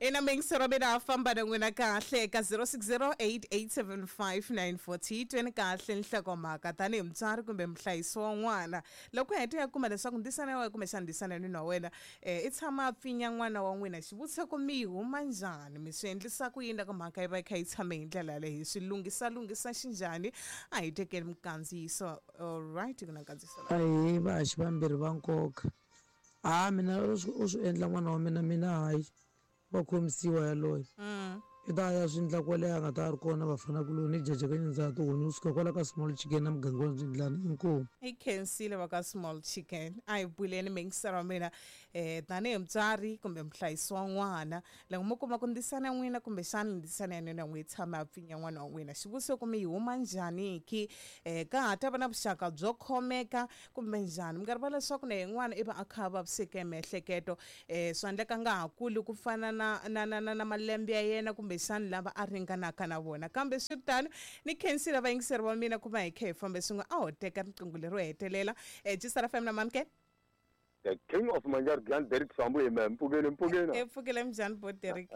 Ina miyingisero mina a famba na n'wina kahle eka 0608875940 tweni kahle nhlokomhaka tanihi mutswari kumbe muhlayisi wa n'wana loko heta ya kuma leswaku ndzisana ya wena kumbexana ndzisana ya nuna wa wena um i tshama a pfinya n'wana wa n'wina xivutiso ku mi yi huma njhani mi swi endlisa ku yini loko mhaka yi va yi kha yi tshame hi ndlela yaleyo hi swi lunghisa lunghisa xinjhani a hi tekeni minkandziyiso alright ku na nkandziyiso la Ahee vahaxi vambirhi va nkoka ha mina u swi u swi endla n'wana wa mina mina hayi wa khomisiwa yaloye i ta ya swi endla kwale a nga ta a ri kona vafana kuloni i jaja ka nyindza tihunyi u suka kwala ka small chicken na muganga wa Ndzindlana inkomu. I khensile va ka small chicken a hi buleni miyingiselo wa mina um tanihi mutswari kumbe muhlayisi wa n'wana loko mo kuma ku ndzisana ya n'wina kumbexana ndzisana ya nwina n'wi tshama a pfinya n'wana wa n'wina xivutiso ku mi yi huma njhani ki um ka ha ta va na vuxaka byo khomeka kumbe njhani mi nga rivala leswaku na yin'wana i va a kha a vaviseke miehleketo um swa endleka a nga ha kuli ku fana na na na na na malembe ya yena kumbexana lava a ringanaka na vona kambe swi ri tano ni khensile vayingiseri va mina ku va hi kha hi fambe swin'we a ho teka riqingho lero hetelela um Jisara FM na mamke The king of Manjarglan Derek Sambu hi mehe mpfukeni mpfukeni e pfukile njhani bo Derek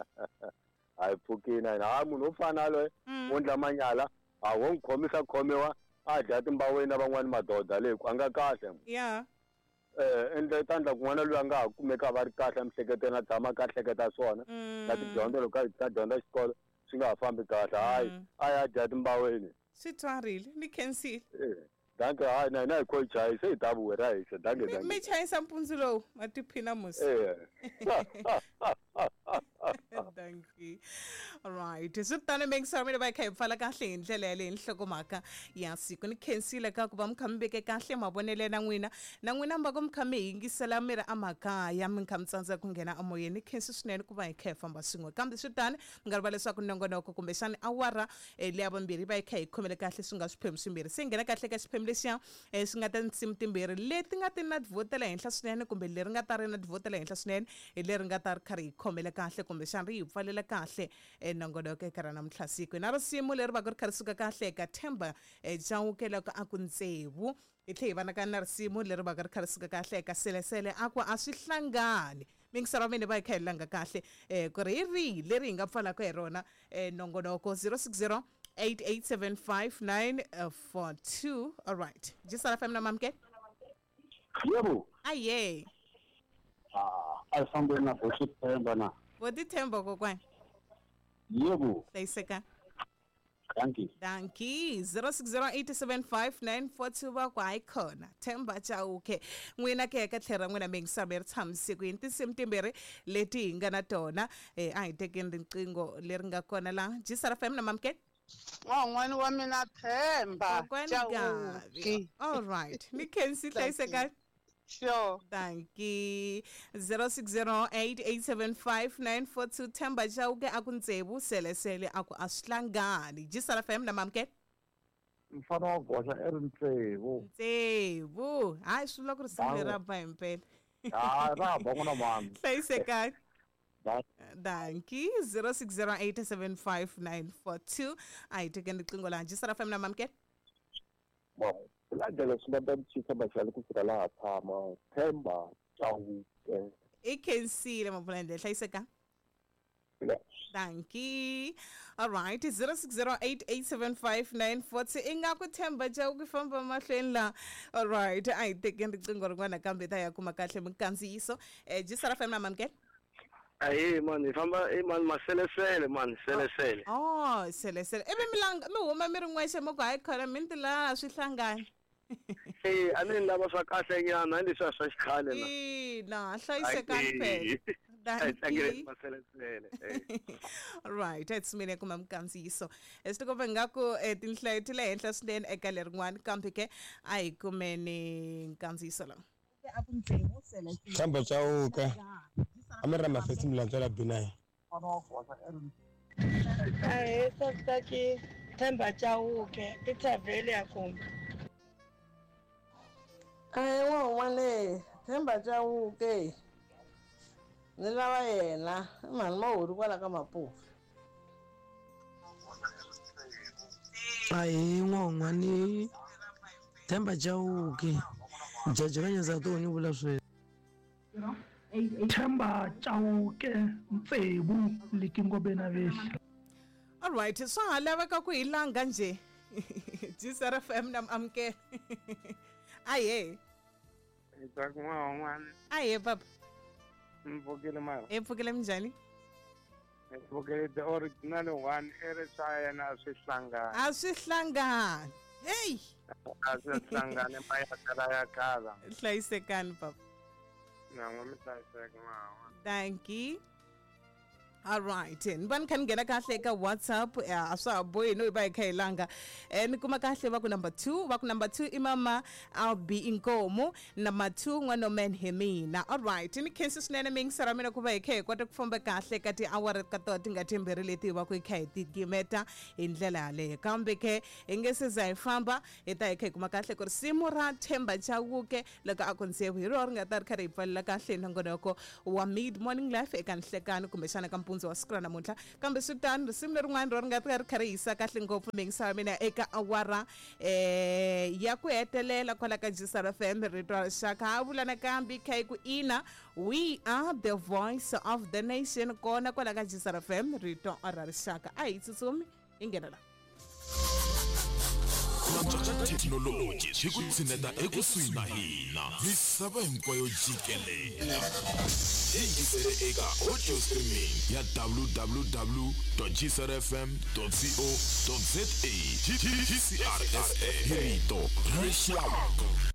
hayi pfukini a ha munhu wo fana loyi wo ndla manyala a wo n'wi khomisa khomiwa a dya timbaweni na van'wani madoda le ku a nga kahle ya eh endla ta ndla kun'wana loyi a nga ha kumeka va ri kahle emiehleketweni a tshama ka hleketa swona na tidyondzo loko a ta dyondza xikolo swi nga ha fambi kahle hayi a ya dya timbaweni swi twarile ni khensile eh danke hayi na hina hi kho hi chayisa hi ta vuwe ra hisa danke mi danke mi chayisa mpundzu lowu ma tiphina musi eh Dankie. Right. Swi tano miyingiselo mina va hi kha hi pfala kahle hi ndlela yaleyo nhlokomhaka ya siku ni khensile ka ku va mi kha mi veke kahle mavonelo na n'wina na n'wina mi va ku mi kha mi yingisela mi ri emakaya mi kha mi tsandzeka ku nghena emoyeni ni khensi swinene ku va hi kha hi famba swin'we kambe swi tano mi nga rivala leswaku nongonoko kumbexana awara leya vumbirhi yi va yi kha yi khomele kahle swi nga swiphemu swimbirhi se hi nghena kahle ka xiphemu lexiya swi nga ta tinsimu timbirhi leti nga ti na tivhoti ta le henhla swinene kumbe leri nga ta ri na tivhoti ta le henhla swinene hi leri nga ta ri kha ri hi khomele kahle kumbexana ri hi pfalela kahle nongonoko eka ra namuntlha siku hi na risimu leri va ku ri kha ri suka kahle eka Themba Chauke loko a ku ntsevu hi tlhe hi va na ka na risimu leri va ka ri kha ri suka kahle eka selesele a ku a swi hlangani mingiselo wa mina va hi kha hi langa kahle ku ri hi rihi leri hi nga pfalaka hi rona nongonoko 060 8875942 all right jisala fm na mamke Yebo. aye Ah, a fambeni na Bosi Themba na. vo tithemba kokwani Yebo. hlayiseka Dankie. Dankie 06087594 va ku hayi khona Themba Chauke n'wina ke ka tlhelo ra n'wina mi yingisela mi ri tshamise ku yini tinsimu timbirhi leti hi nga na tona a hi tekeni riqingho leri nga kona la Jisara FM na Mamke N'wan'wani wa mina Themba Kokwani Gavi Chauke all right ni khensi hlayisekani Sure. Dankie 0608875942 Themba Chauke a ku ntsevu selesele a ku a swi hlangani Jisara FM na Mamke Mfana wa goxa i ri ntsevu. Ntsevu hayi swi vula ku ri risimu leri ra ba hi mpela Ha ra ba n'wana mani. hlayisekani Ba- Dankie 0608875942 a hi tekeni riqingho laha Jisara FM na Mamke Bon, landela swi nga ta chisa machali ku fika laha tshama Themba Chauke i khensile mabulandlela hlayiseka Dankie. All right, 0608875942 ingaku Themba Chauke famba mahlweni la. All right, a hi tekeni riqingho rin'wana kambe ta ya kuma kahle minkandziyiso. Jisara FM na Mamke. Ahe mani hi famba e mani maselesele mani selesele. Oh, selesele. Ivi mi langa mi huma mi ri n'wexe mi ku hayi khona mi ni la swi hlangani. Eh a ni lava swa kahle nyana a ni leswiya swa xikhale na. Ina, hlayisekani phela. A hi tlangele Dankie. maselesele. Right, it's mina kuma minkandziyiso. Swi tikomba ingaku tinhlayo ti le henhla swinene eka lerin'wani kambe ke a hi kumeni nkandziyiso lowu. Themba Chauke a mi ri na mafesi mi lantswela B9 Ahee sasitaki Themba Chauke i thavhele ya kumbe. Ahee n'wan'wana Themba Chauke ni lava yena i mhani Mahuri kwala ka Mapuva. Ahee n'wan'wani Themba Chauke jaji ka Nyanza tihunyi vula sweswo. Themba Chauke Ntsevu Likingobeni Vehli. Alright, swa ha laveka ku hi langa njhe. GCR FM na amukela. Aye. Hi n'wana. Aye papa. Mpfukile mara. Hi pfukile minjhani? Hi pfukile the original one i ri swa yena a swi hlangani. A swi hlangani. Hey. A swi hlangani mayakala ya kala. Hlayisekani papa. Na n'we mi hlayiseka n'wana. Thank you. Alright, ni va ni kha ni nghena kahle eka WhatsApp, a swa ha bohi no hi va hi kha hi langa. Ni kuma kahle va ku number 2, va ku number 2 i mama Albi Inkomo, number 2 n'wana man hi mina. Alright, ni khensi swinene miyingiselo ya mina ku va hi kha hi kota ku famba kahle ka tiawara ka tona ti nga timbirhi leti hi va ku hi kha hi ti gimeta hi ndlela yaleyo. Kambe ke hi nge se za hi famba hi ta hi kha hi kuma kahle ku risimu ra Themba Chauke loko a ku Ntsevu hi rona ri nga ta ri kha ri hi pfalela kahle nongonoko wa Mid Morning Life eka nhlekani kumbexana ka mpundzu wa siku ra namuntlha. Kambe swi tano, risimu lerin'wana ro ri nga ta ri kha ri hisa kahle ngopfu miyingiselo ya mina eka awara ya ku hetelela kwala ka GCR FM rito ra rixaka. Ha vula nakambe kha yi ku ina, we are the voice of the nation kona kwala ka GCR FM rito ra rixaka. A hi tsutsumi hi nghena la. Thekinoloji swi ku tshineta ekusuhi na hina misava hinkwayo jikelele. Yingisele eka audio streaming ya www.gcrfm.co.za. GCRSA hi rito ra rixaka.